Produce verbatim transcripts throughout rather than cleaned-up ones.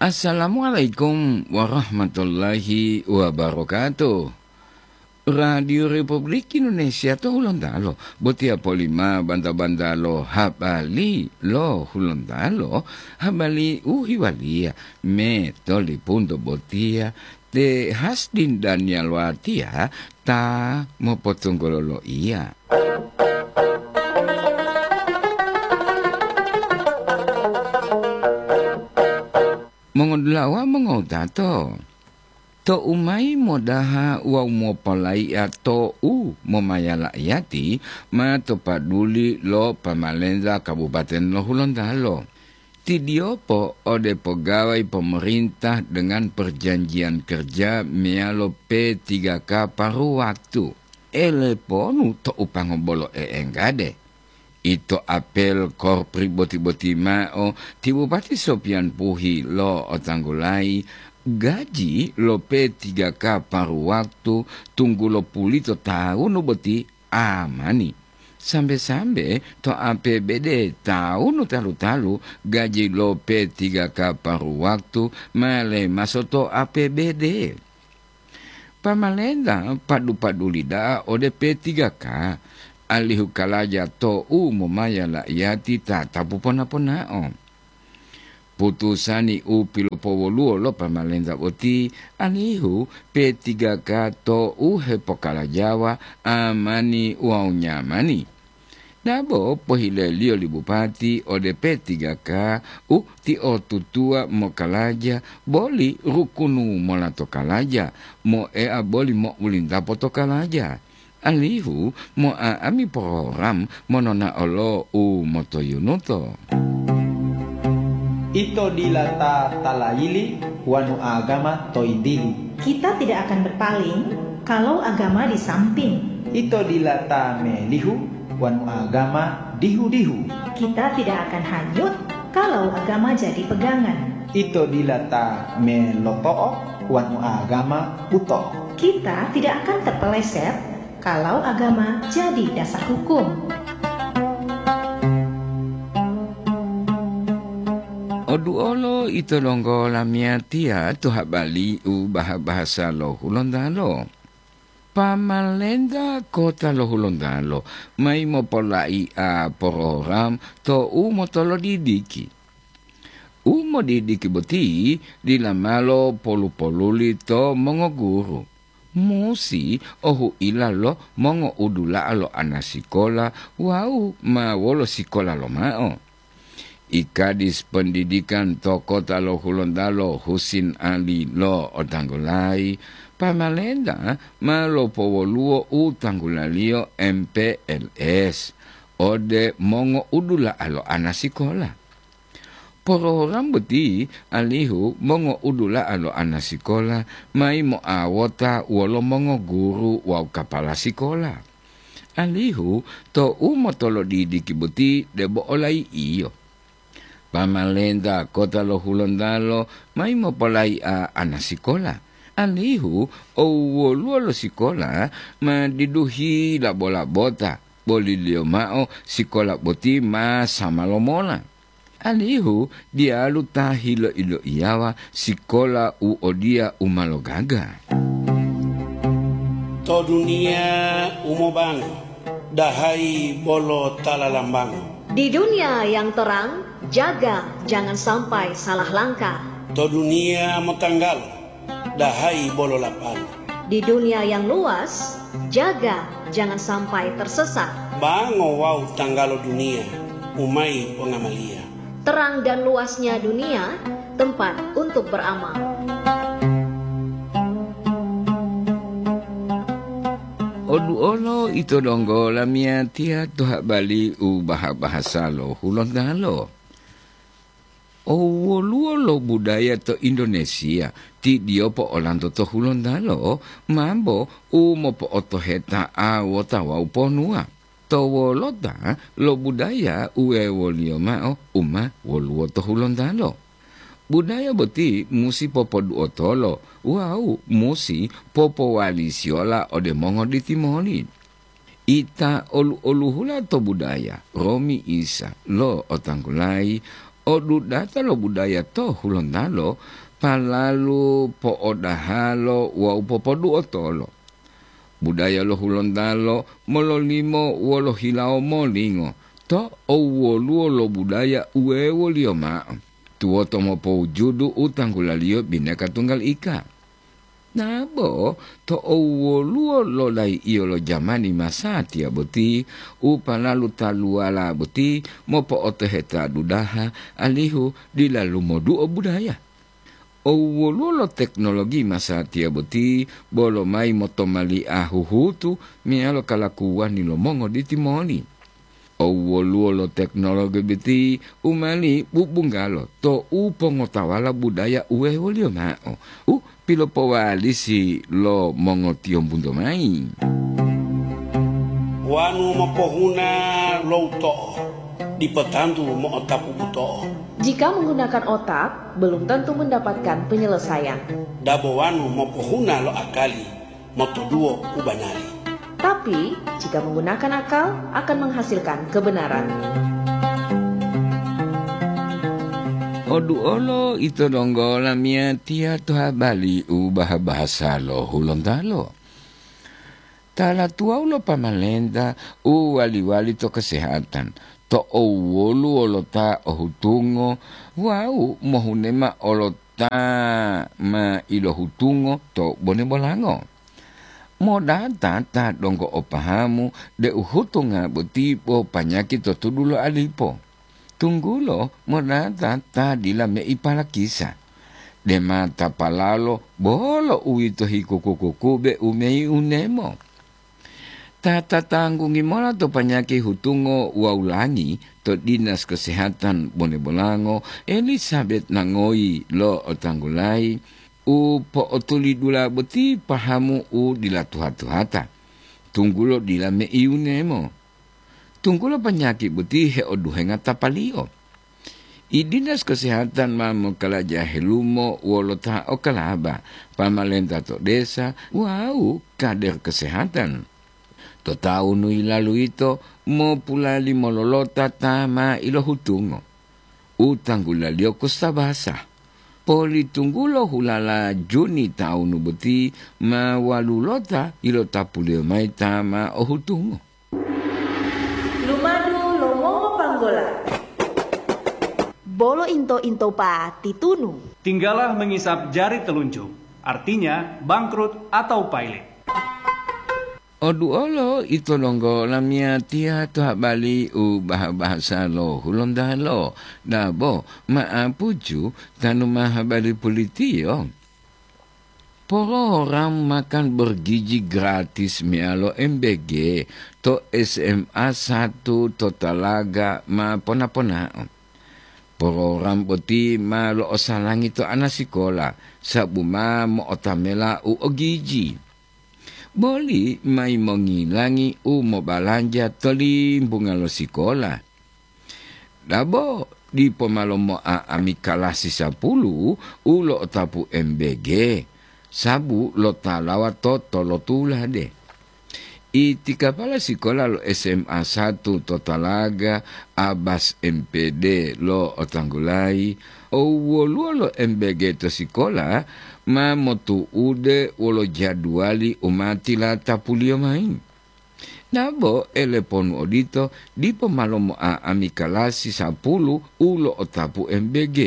Assalamualaikum warahmatullahi wabarakatuh. Radio Republik Indonesia to Hulontalo, botiya polima banta-banta lo habari lo Hulontalo, habari u hiwaliya me tolipunto botiya te Hasdin Daniel Watiya ta mopotunggulo loiya. Mongodulawa mongowutato, tou mayi modaha wawu mopolayi'a to'u momayala iyati ma to paduli lo pamalenta Kabupaten lo Hulontalo. Tidiyopo ode pegawai pemerintah dengan perjanjian kerja meyalo P tiga K paru waktu. Eleponu to'u pango bolo e'enggade. Ito apel korpri boti-boti mao ti Bupati Sopian Puhi lo otanggulayi gaji lo P tiga K paru waktu tunggulo pulito tawunu boti amani. Sambe-sambe to A P B D tawunu talu-talu gaji lo P tiga K paru waktu ma lemaso to A P B D. Pamalenta padu-paduli da'a ode P tiga K, alihu kalaja to'u momaya la'iyati tatapu pona-ponao. Putusani u pilopowoluwo lo pamalenta boti, alihu P tiga K to'u hepokalajawa amani wawu nyamani. Dabo pohileliyo li bupati ode P tiga K u tiotutuwa mokalaja boli rukunu mola to kalaja, moea boli mo'ulintapo to kalaja, alihu mo'a'ami program monona'o lo u motoyunuto. Ito dila ta talayili wanu agama toyintili. Kita tidak akan berpaling kalau agama di samping. Ito dila ta melihu wanu agama dihu-dihu. Kita tidak akan hanyut kalau agama jadi pegangan. Ito dila ta meloto'o wanu agama buto'o. Kita tidak akan terpeleset kalau agama jadi dasar hukum. Oduolo ito donggo lamiyatiya to habari u baha-bahasa lo Hulontalo. Pamalenta kota lo Hulontalo mayi mopolaia program to u motolodidiki. U modidiki boti dila malo polu-poluli to mongoguru. Musi ohuila lo mongo'udula'a lo anasikola wawu ma wolo sikola lomao. I Kadis Pendidikan to kota lo Hulontalo Husin Ali lo otanggulayi, pamalenta ma lopowoluwo u tanggulaliyo M P L S ode mongo'udula'a lo anasikola. Program boti alihu mongo'udula'a lo anasikola mayi mo'awota wolo mongoguru wawu kapala sikola. Alihu to u motolodidiki boti debo olayi'iyo. Pamalenta kota lo Hulontalo mayi mopolayi'a anasikola, alihu owoluwo lo sikola ma diduhi labo-labota, boliliyo mao sikola boti ma sama lomola. Alihu diyalu ta hilo-iloiyawa sikola u odiya u ma logaga. To duniya u mobango, dahayi bolo ta lalambango. Di dunia yang terang, jaga jangan sampai salah langkah. To duniya motanggalo, dahayi bolo lapalo. Di dunia yang luas, jaga jangan sampai tersesat. Bango wawu tanggalo duniya, u mayi pongamaliya. Terang dan luasnya dunia, tempat untuk beramal. Oduolo ito donggo lamiyatiya to habari u baha-bahasa lo Hulontalo. O woluwo lo budaya to Indonesia, ti diyopo olanto to Hulontalo, mambo u mopo'otoheta'a wota wawu ponuwa. To wolota lo budaya u wewoliyo mao u ma woluwo to Hulontalo. Budaya boti musi popoduotolo wawu musi popowalisiyola ode mongoditimoli. Ita olu-oluhula to budaya, romi Isa lo otanggulayi Odudata lo budaya to Hulontalo palalu po'odahalo wawu popoduotolo. Budaya lo Hulontalo mololimo wolo hilawo molingo to owoluwo lo budaya uwewoliyo ma'o, tuwoto mopowujudu u tanggulaliyo bineka tunggal ika. Nabo to owoluwo lo lai'iyo lo jamani masatiya boti, u palalu taluwala boti mopo'otoheta dudaha, alihu dila lumoduo budaya. Owoluwo lo teknologi masatiya boti bolo mayi motomali'a huhutu meyalo kalakuwani lo mongoditi moli. Owoluwo lo teknologi boti u mali bubunggalo to u pongotawala budaya uwewoliyo ma'o, u pilopowalisi lo mongotiyombunto mayi. Wanu mopohuna lo uto'o, dipo tantu mo'otapu buto'o. Jika menggunakan otak, belum tentu mendapatkan penyelesaian. Dabo wanu mopohuna lo akali, motoduwo u banari. Tapi, jika menggunakan akal, akan menghasilkan kebenaran. Oduolo ito donggo lamiyatiya to habali u baha-bahasa lo Hulontalo. Tala tuwawu lo pamalenta u wali-wali to kesehatan, to owoluwo lo ta o hutungo wawu mohunema olo ta ma ilohutungo to bone bolango. Modata ta donggo o pahamu deu hutunga boti bo panyaki to tudu lo alipo. Tunggulo modata ta dila mei palakisa. Dema tapalalo bolo uwito hikuku-kukube u mei unemo. Ta tatanggungi mola to panyaki hutungo wawu langi to Dinas Kesehatan Bone Bolango, Elizabeth Nangoyi lo Otanggulayi, u po'otulidula boti pahamu u dila tuha-tuhata, tunggulo dila meiunemo. Tunggulo panyaki boti heoduhenga tapaliyo. I Dinas Kesehatan ma mokalaja helumo wolo ta okalaba, pamalenta to desa wawu kader kesehatan. To taunu yilalu yito mopulali mololota ta ma ilohutungo. U tanggulaliyo kusabasa. Politunggulo hulala Juni taunu boti ma walulota ilotapuliyo mayi ta ma ohutungo. Lumadu lo mongopanggola. Bolo into-into pa titunu. Tinggalah mengisap jari telunjuk, artinya bangkrut atau pailit. Oduolo ito donggo lamiyatiya to habali u baha-bahasa lo Hulontalo, dabo ma'apuju tanu ma habari pulitiyo. Program makan bergizi gratis meyalo M B G to S M A satu to Talaga ma pona-ponao. Program boti ma lo'osalangi to ana sikola, sabu ma mo'otamela u ogiji. Boli mayi mongilangi u mobalanja to limbunga lo sikola. Dabo dipo ma lomo'a'ami kalasi sapulu u lo'otapu M B G, sabu lotalawa to tolotulade. Iti kapala sikola lo S M A satu to Talaga, Abbas M P D lo Otanggulayi, owoluwo lo M B G to sikola ma motu'ude wolo jaduwali u ma tilatapuliyo mayi. Dabo eleponu odito, dipo ma lomo'a'ami kalasi sapulu u lo'otapu M B G,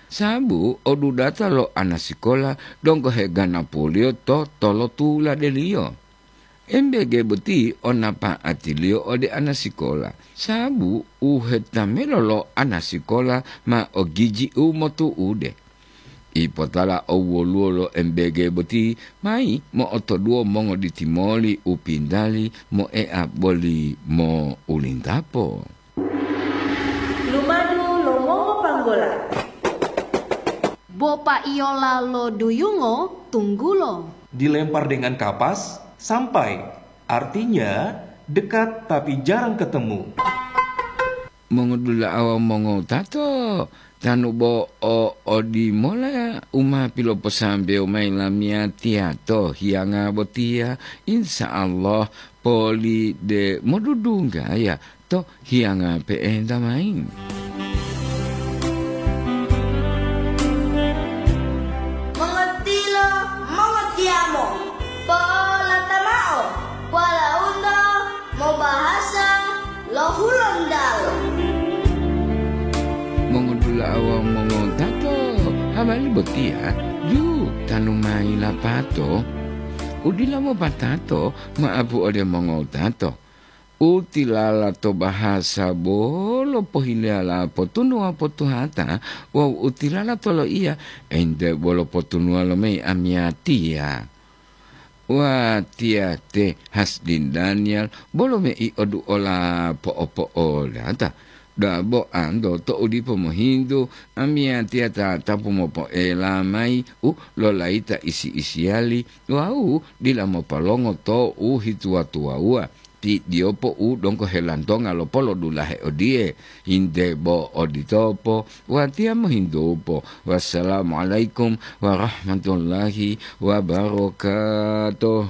sabu odudata lo ana sikola donggo heganapuliyo to tolotuladeliyo. M B G boti o napa'atiliyo ode ana sikola, sabu u hetamelo lo ana sikola ma ogiji u motu'ude. Ipotala owoluwo lo M B G boti mayi mo'otoduwo mongoditi moli u pintali moea boli mo'ulintapo. Lumadu lo mongopanggola. Bo paiyola lo duyungo tunggulo. Dilempar dengan kapas, sampai. Artinya, dekat tapi jarang ketemu. Mongodula'a wawu mongowutato, tanu bo o odimola u ma piloposambewo mayi lamiyatiya to hiyanga botiya, insya Allah poli de modudunggaya to hiyanga pe'enta mayi. Wawu mongotato, habari botiya ju tanu mayi lapato, u dila mopatato ma'apu ode mongotato. U tilala to bahasa bolo pohileyala potunuwa potuhata, wawu u tilala to loiya ente bolo potunuwa lo mayi amiyatiya. Watiya te Hasdin Daniel bolo mei oduola po'opo'olata. Dabo anto to'u dipo mohintu, amiyatiya tatapu mopoela mayi u lolayita isi-isiyali wawu dila mopolongo to u hituwa-tuwawuwa. Ti diyopo u donggo helantonga lo polodulahe odiye, hinte bo oditopo, watiya mohintupo. Wassalamualaikum warahmatullahi wabarakatuh.